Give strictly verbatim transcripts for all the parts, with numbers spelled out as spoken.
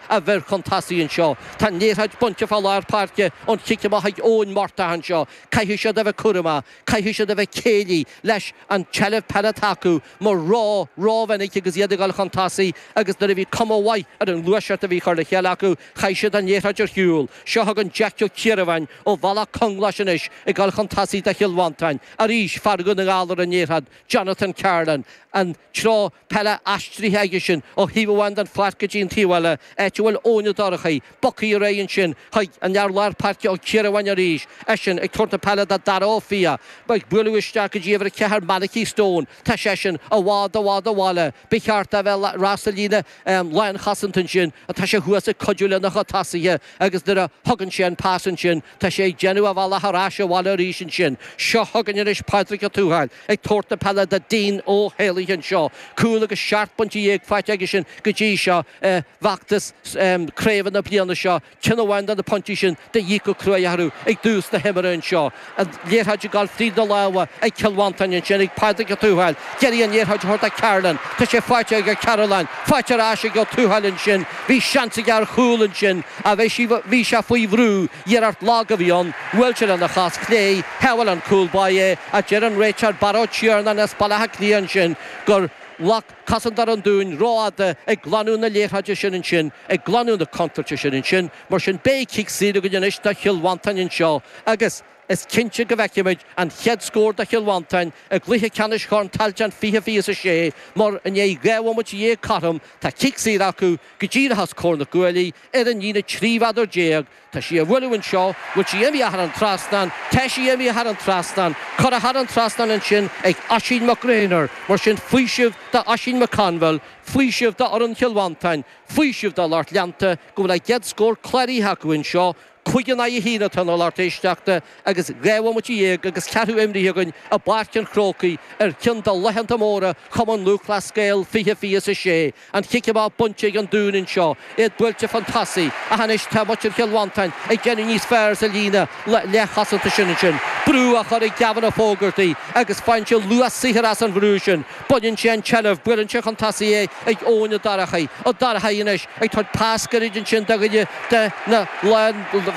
a bhur chun tosaigh anseo. Tá an liathróid bainte fá lár páirce ón chic amach ag Eoin Murtagh anseo. Caithfidh siad a bheith cúramach, caithfidh siad a bheith céillí leis an tseilbh peile atá acu mar ró, rómhinic agus iad ag dul chun tosaigh agus nuair a bhí cuma mhaith ar an ngluaiseacht a bhí curtha le chéile acu, chaith siad an liathróid ar shiúl. Seo chugainn Jeaic Ó Ciardhubháin ó Bhealach Conglais anois ag dul chun tosaigh do Chill Mhantáin. Arís fear Dhún na nGall ar an liathróid, Jonathan Carlin, an treo peile aistrithe aige sin ó thaobh amháin den pháirc go dtí an taobh eile, áit a bhfuil Eoin Ó Dorchaí bogtha ar aghaidh ansin chuig an fhear lár páirce Ó Ciardhubháin arís, eisean ag tabhairt na peile do Dara Ó Fiaich, ag bualadh isteach go dtí uimhir a ceathair Malachy Stone, tá seisean i bhfad i bhfad ó bhaile, ba cheart dó a bheith sa líne lánchosanta ansin, tá sé thuas ag cuidiú lena chuid tosaithe agus nuair a thugann sé an pas ansin, tá sé ag déanamh a bhealach ar ais abhaile arís ansin. Seo chugainn anois Pádraig Ó Tuathail ag tabhairt na peile do Dean Ó hÉalaithe anseo. Cúl agus seacht bpointe dhéag faighte aige sin go dtí seo i bhfeachtas craoibhe na bliana seo. Ceann amháin de na pointí sin de dhíth go cruaidh orthu ag dtús na himeartha anseo. An liathróid ag dul fríd na lámha ag Cill Mhantáin ansin ag Pádraig Ó Tuathail. D'iarraidh an liathróid a thabhairt do Carolan. Tá sé faighte ag Carolan. Faighte ar ais ag Ó Tuathail ansin. Bhí seans aige ar chúl ansin ach bhí sé faoi bhrú. Iarracht lag a bhí ann. Bhuail sé lena chos chlé. Shábháil an cúl báire é ach deir an réiteoir Barra Ó Tiarnáin as Baile Átha Cliath ansin gur ghlac cosantóir an Dúin rófhada ag glanadh na liathróide sin ansin, ag glanadh na contúirte sin ansin. Mar sin beidh cic saor againn anois do Chill Mhantáin anseo agus is cinnte go bhfeicfimid an chéad scór do Chill Mhantáin i gcluiche ceannais Chorn Tailteann fiche fiche is a sé mar i ndiaidh dhá bhomaite dhéag cothrom tá cic saor acu go díreach os comhair na gcuaillí ar an líne trí mhéadar déag. Tá sí á bhualadh anseo, bhfuil sí imithe thar an trasnán, tá sí imithe thar an trasnán, curtha thar an trasnán ansin ag Oisín McGraynor, mar sin faoiseamh d'Oisín McConville, faoiseamh d'fhoireann Chill Mhantáin, faoiseamh dá lucht leanta go bhfuil a gcéad scór cláraithe acu anseo, cúig in aghaidh a haon atá ann a lucht éisteachta agus dhá bhomaite dhéag agus ceathrú imrithe againn i bPáirc an Chrócaigh ar cheann de laethanta móra Chumann Lúthchleas Gael fiche fiche is a sé. An chic amach bainte ag an Dún anseo, iad buailte chun tosaigh, ach anois tá muintir Chill Mhantáin ag déanamh níos fearr sa líne leathchosanta sin ansin. Brú á chur ag Gavin Ó Fógartaigh agus faigheann sé luas saothair as an bhrú sin. Baineann sé an tseilbh, buaileann sé chun tosaigh é ag Eoin Ó Dorchaí. Ó Dorchaí anois ag tabhairt pas gairid ansin do dhuine de na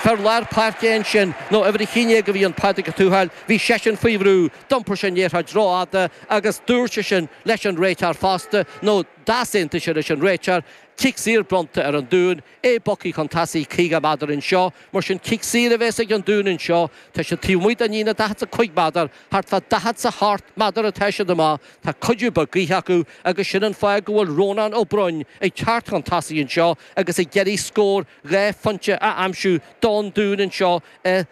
fir lár páirce ansin, nó uimhir a haon déag a bhí ann, Pádraig Ó Tuathail, bhí seisean faoi bhrú, d'iompair sé an liathróid rófhada agus dúirt seisean leis an réiteoir fosta, nó d'easaontaigh sé leis an réiteoir, cic saor bronnta ar an Dún, é bogtha chun tosaigh caoga méadar anseo, mar sin cic saor a bheas ag an Dún anseo, tá siad taobh amuigh den líne daichead 's a cúig méadar, thart fá daichead 's a hocht méadar atá siad amach, tá cuidiú beag gaoithe acu agus sin an fáth go bhfuil Rónán Ó Broin ag teacht chun tosaigh anseo agus ag iarraidh scór dhá phointe a aimsiú don Dún anseo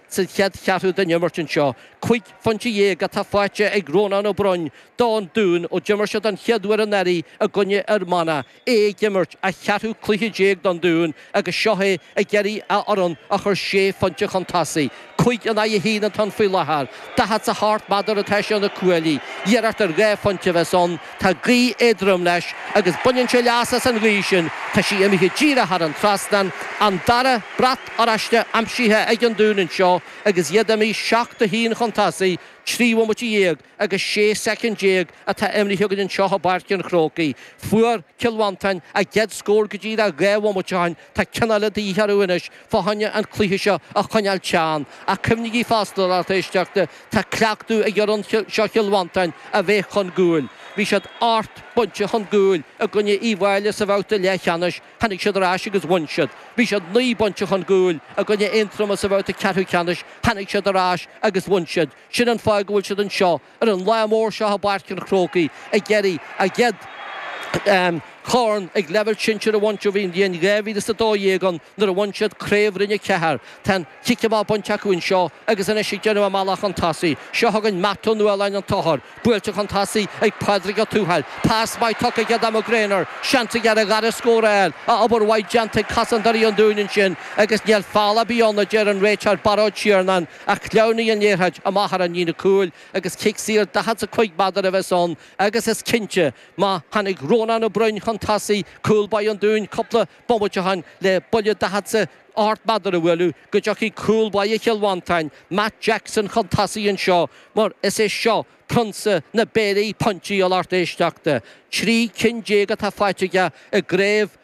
sa chéad cheathrú den imirt anseo. Cúig phointe dhéag atá faighte ag Rónán Ó Broin don Dún ó d'imir siad an chéad uair anuraidh i gcoinne Fhear Manach, é ag imirt a cheathrú cluiche déag don Dún agus seo é ag iarraidh a fhoireann a chur sé phointe chun tosaigh. Cúig in aghaidh a haon atá ann faoi láthair. Daichead 's a hocht méadar atá sé ó na cuaillí. Iarracht ar dhá phointe a bheas ann. Tá gaoth éadrom leis agus baineann sé leas as an ghaoth sin. Tá sí imithe díreach thar an trasnán. An dara brat oráiste aimsithe ag an Dún anseo agus iad imithe seacht a haon chun tosaigh, trí bhomaite dhéag agus sé soicind déag atá imrithe againn anseo i bPáirc an Chrócaigh. Fuair Cill Mhantáin a gcéad scór go díreach dhá bhomaite ó shin. Tá ceann eile de dhíth orthu anois fá choinne an cluiche seo a choinneáil teann. Ach cuimhnigí fosta, a lucht éisteachta, tá cleachtadh ag fhoireann seo Chill Mhantáin a bheith chun cúil. Bhí siad ocht bpointe chun cúil i gcoinne Uíbh Fhailí sa bhabhta leathcheannais, tháinig siad ar ais agus bhain siad. Bhí siad naoi bpointe chun cúil i gcoinne Aontroma sa bhabhta ceathrú ceannais, tháinig siad ar ais agus bhain siad. Sin an fáth go bhfuil siad anseo ar an lá mór seo i bPáirc an Chrócaigh ag iarraidh a gcéad chorn ag leibhéal sinsir a bhaint ó bhí an bhliain dhá mhíle is a dó dhéag ann nuair a bhain siad Craobh Roinn a Ceathair. Tá an cic amach bainte acu anseo agus anois ag déanamh a mbealach chun tosaigh. Seo chugainn Matt Ó Nualláin an t-othar. Buailte chun tosaigh ag Pádraig Ó Tuathail. Pas maith tugtha aige do McGraynor. Seans aige ar a dhara scór a fháil. Obair mhaith déanta ag cosantóirí an Dúin ansin agus níl feall ar bith ann a deir an réiteoir Barra Ó Tiarnáin ach shleamhnaigh an liathróid amach thar an líne cúil agus cic saor daichead 's a cúig méadar a bheas ann agus is cinnte má tháinig Rónán Ó Broin chun tosaigh, cúl báire an Dúin cúpla bomaite ó shin le buille daichead 's a hocht méadar a bhualadh go dtiocfaidh cúl báire Chill Mhantáin, Matt Jackson chun tosaigh anseo mar is é seo prionsa na bpéirí pointí a lucht éisteachta. Trí cinn déag atá faighte aige i gcraobh